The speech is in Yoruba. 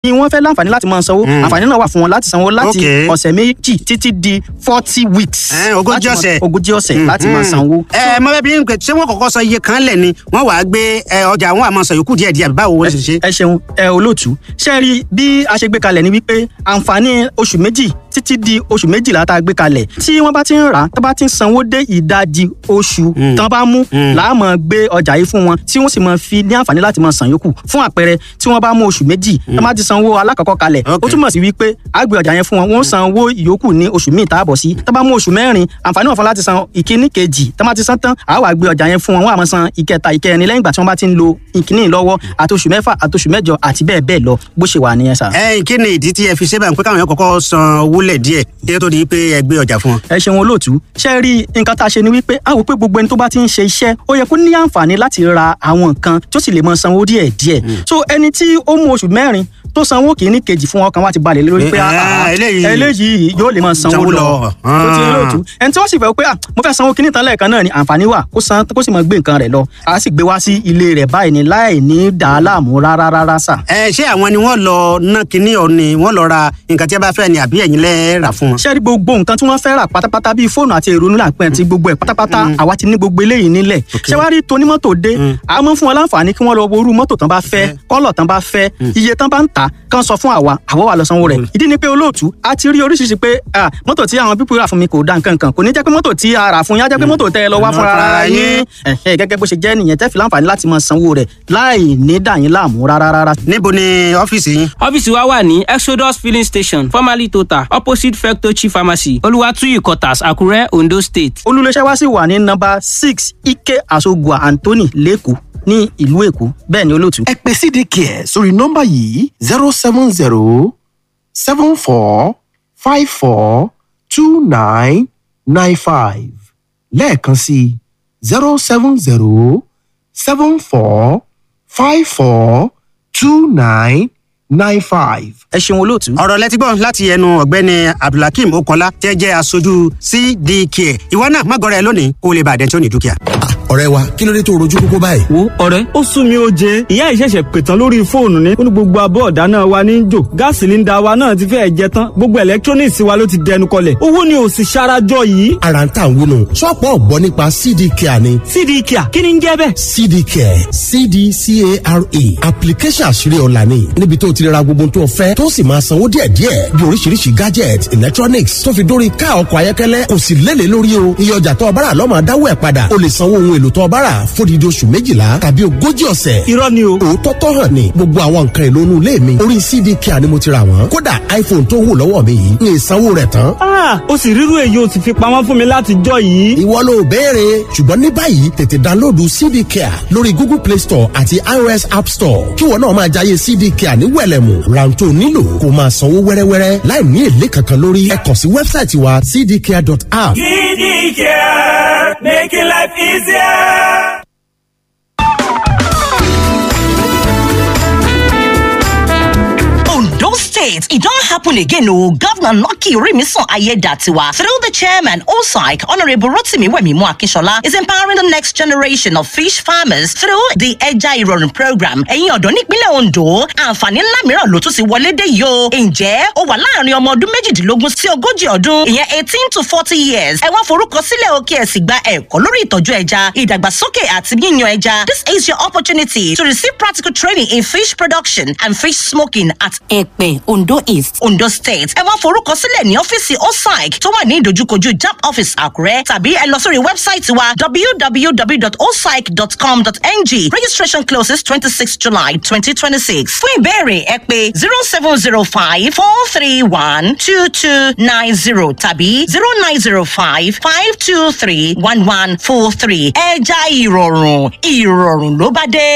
Ni wọ́n fẹ́ láǹfààní láti máa sanwó, àǹfààní náà wà fún wọn láti sanwó láti ọ̀sẹ̀ 2 títí di 40 weeks. Ogójì ọ̀sẹ̀. 40 ọ̀sẹ̀ láti máa sanwó. Ẹ mọ bẹẹ bí n pè, ṣé wọn kọ́kọ́ sọ iye kan lẹ ni wọn wàá gbé ọjà wọn àmọ́ sọ yòókù díẹ̀ díẹ̀, báwo wọ́n ṣe ṣe? Ẹ ṣeun ẹ olóòtú. Ṣe rí bí a ṣe gbé kalẹ̀ ni wípé àǹfààní oṣù 2 títí di oṣù 12 tá a gbé kalẹ̀, tí wọ́n bá ti ń rà á, tó bá ti ń sanwó dé ìdajì oṣù tán bá mú, làá máa gbé ọjà yìí fún wọn, tí wọ́n sì máa fi ní àǹfààní láti máa san yòókù. Fún àpẹẹrẹ, tí wọ́n bá mú oṣù 2, tán bá ti sanwó alákọ̀ọ́kọ́ kalẹ̀, ó túmọ̀ sí wípé a gbé ọjà yẹn fún wọn, wọ́n san owó ìyókù ní oṣù míì táàbọ̀ sí. Tán bá mú oṣù 4, àǹfààní wọn fún láti san ìkíní kejì. Tán bá ti san tán, a wá gbé ọjà yẹn fún wọn, wọ́n á máa san ìkẹta, ìkẹrin lẹ́yìn ìgbà tí wọ́n bá ti ń lo ìkíní lọ́wọ́, àti oṣù 6 àti oṣù 8 àti bẹ́ẹ̀ bẹ́ẹ̀ lọ, bó ṣe wà nìyẹn sà. Ẹ kí ni ìdí tí ẹ fi ṣe báyìí pé káwọn yẹn kọ́kọ́ san owó lẹ̀ díẹ̀ kí ó tó di pé ẹ gbé ọjà fún wọn? Ẹ ṣeun olóòtú. Ṣe rí nǹkan tá a ṣe ni wípé a wò pé gbogbo ẹni tó bá ti ń ṣe iṣẹ́, ó yẹ kó ní àǹfààní láti ra àwọn nǹkan tó sì lè máa sanwó díẹ̀ díẹ̀. So ẹni tí ó mú oṣù 4 tó sanwó kìíní kejì fún, ọkàn wa ti balẹ̀ lórí pé eléyìí yóò lè máa sanwó lọ. Tó ti olóòtú, ẹni tí wọ́n sì fẹ́ pé mo fẹ́ sanwó kìíní tán lẹ́ẹ̀kan náà ni, àǹfààní wà kó san, kó sì máa gbé nǹkan rẹ̀ lọ. A sì gbé wá sí ilé rẹ̀ báyìí ni láì ní dà á láàmú rárá rárá sà. Ẹ ṣé àwọn ni wọ́n lọ ná kinní ọ ni wọ́n lọ ra nǹkan tí a bá fẹ́ ni, àbí ẹ̀yin lẹ rà fún wọn? Ṣé rí gbogbo nǹkan tí wọ́n fẹ́ rà pátápátá, bíi fóònù àti ìrònú làpẹ́ àti gbogbo ẹ̀ pátápátá, àwa ti ní gbogbo eléyìí nílẹ̀. Ṣé wàá rí tonímọ́tò dé, a máa ń fún wọn láǹfààní kí wọ́n lọ wo irú mọ́tò tán bá fẹ́, kọ́lọ̀ tán bá fẹ́, iye tán bá ń tà, kán sọ fún àwa, àwa wà lọ sanwó rẹ̀. Ìdí ni pé olóòtú, a ti rí oríṣiríṣi pé mọ́tò tí àwọn pípọ̀ rà fún mi kò da nǹkan kan. Kò ní jẹ́ pé mọ́tò tí a rà fún yín á jẹ́ pé mọ́tò tẹ́ ẹ lọ wá fúnra ara yín. Gẹ́gẹ́ bó ṣe jẹ́ nìyẹn, tẹ́ fi láǹfààní láti máa sanwó rẹ̀ láì ní dà yín láàmú rárá rárá. Níbo ni ọ́fíìsì yín? Ọ́fíìsì wa wà ní Exodus Filling Station, formerly Total, opposite Fectochi Pharmacy, Olùwàtúyì Quarters, Àkúrẹ́, Ondo State. Olùléṣẹ́ wa sì wà ní nọ́mbà 6 Ike Asogua Anthony, lẹ́kọ̀ọ́ ní ìlú Èkó. Bẹ́ẹ̀ ni olóòtú. Ẹ pè CDCare sórí nọ́mbà yìí: 07074542995. Lẹ́ẹ̀kan sí: 07074542995. Ẹ ṣeun olóòtú. Ọ̀rọ̀ lẹ́tí gbọ́ láti ẹnu ọ̀gbẹ́ni Abdulhakeem Okola, tẹ́ jẹ́ aṣojú CDK. Ìwọ náà má gọrẹ lónìí kó o lè bàdẹ́ tí ó ní dúkìá. Ọ̀rẹ́ wa, kí ló dé tó rojú kókó báyìí? Wo ọ̀rẹ́, ó sún mi ó jẹ. Ìyá ìṣẹ̀ṣẹ̀ pètàn lórí fóònù ni ó ní gbogbo abọ́ ọ̀dá náà wa ní jò, gáàsì líńdà wa náà ti fẹ́ẹ̀ jẹ tán, gbogbo electronics wa ló ti dẹnu kọlẹ̀, owó ni ò sì ṣarajọ yìí. Ara ń tà ń wúnu, ṣọ́ọ̀pù ọ̀gbọ́n nípa CD Care ni. CD Care, kí ni ń jẹ́ bẹ́ẹ̀? CD Care, CDCARE, application àṣírí ọ̀la ni, níbi tó ti ra gbogbo tó fẹ́, tó sì máa sanwó díẹ̀díẹ̀, bí oríṣiríṣi gadget, electronics, tó fi dórí ká ọkọ̀ ayọ́kẹ́lẹ́. Kò sì lélẹ̀ lórí o. Iye ọjà tó ọbára lọ́mọ adáwọ̀ ẹ̀ padà. O lè sanwó ohun èlò tó ọbára fódìdí oṣù 12 tàbí 40 ọ̀sẹ̀. Irọ́ ni o. Òótọ́ tó hàn ní, gbogbo àwọn nǹkan èlò inú ilé mi, orí CD Care ni mo ti rà wọ́n. Kódà iPhone tó wù lọ́wọ́ mi yìí, ní ìsanwó rẹ̀ tán. Ó sì rírú èyí, o sì fi pamọ́ fún mi láti jọ yìí. Ìwọ ló béèrè, ṣùgbọ́n ní báyìí tètè download CD Care lórí Google Play Store àti iOS App Store, kí wọn náà máa jayé CD Care ní wẹ̀lẹ̀mù. Rántó nílò kó máa sanwó wẹ́rẹ́wẹ́rẹ́ láì ní èlé kankan lórí. Ẹ kàn sí wẹ́bsáìtì wa, cdcare.app. CDCare, making life easier. Ondo State, it don't happen again. Oh, Governor Lucky Orimisan Aiyedatiwa, through the chairman, OSAIC, Honorable Rotimi Wemimo Akinshola, is empowering the next generation of fish farmers through the Ẹja Ìrọ̀rùn program. Ẹ̀yin ọ̀dọ́ nípínlẹ̀ Ondo, àǹfààní ńlá mìíràn ló tún ti wọlé dé yìí o. Ǹjẹ́ ó wà láàrin ọmọ ọdún 18 sí 40 ọdún, ìyẹn 18 to 40 years? Ẹ wá forúkọ sílẹ̀ o, kí ẹ sì gba ẹ̀kọ́ lórí ìtọ́jú ẹja, ìdàgbàsókè àti yíyan ẹja. This is your opportunity to receive practical training in fish production and fish smoking at Ẹ̀pẹ̀, Ondo East, Ondo State. Ẹ wá forúkọ sílẹ̀ ní ọ́fíìsì OSAIC tó wà ní ìdojúkojú JAMB office, Àkúrẹ́, tàbí ẹ lọ sórí wẹ́bsáìtì wa, www.osaic.com.ng. Registration closes 26 July 2026. Fún ìbéèrè, ẹ pè 07054312290 tàbí 09055231143. Ẹja ìrọ̀rùn, ìrọ̀rùn ló bá dé.